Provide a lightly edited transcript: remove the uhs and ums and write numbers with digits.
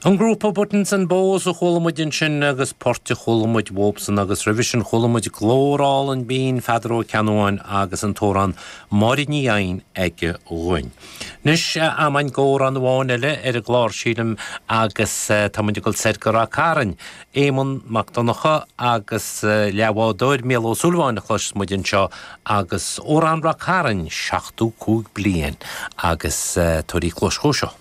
An grúpa Buttons and Bows a chuala muid ansin agus port a chuala muid uathubsan agus roimhe sin chuala muid glór álainn binn Pheadar Ó Ceannabháin agus an t-amhrán Máire Ní Eidhin aige dhúinn. Anois am againn d'amhrán amháin eile ar an gclár sílim agus tá muid ag dul soir go Ráth Cairn. Éamonn Mac Donncha agus leathbhádóir Mícheál Ó Súilleabháin a chloisfeas muid anseo agus amhrán Ráth Cairn 75 bliain agus tabhair cluas dhó seo.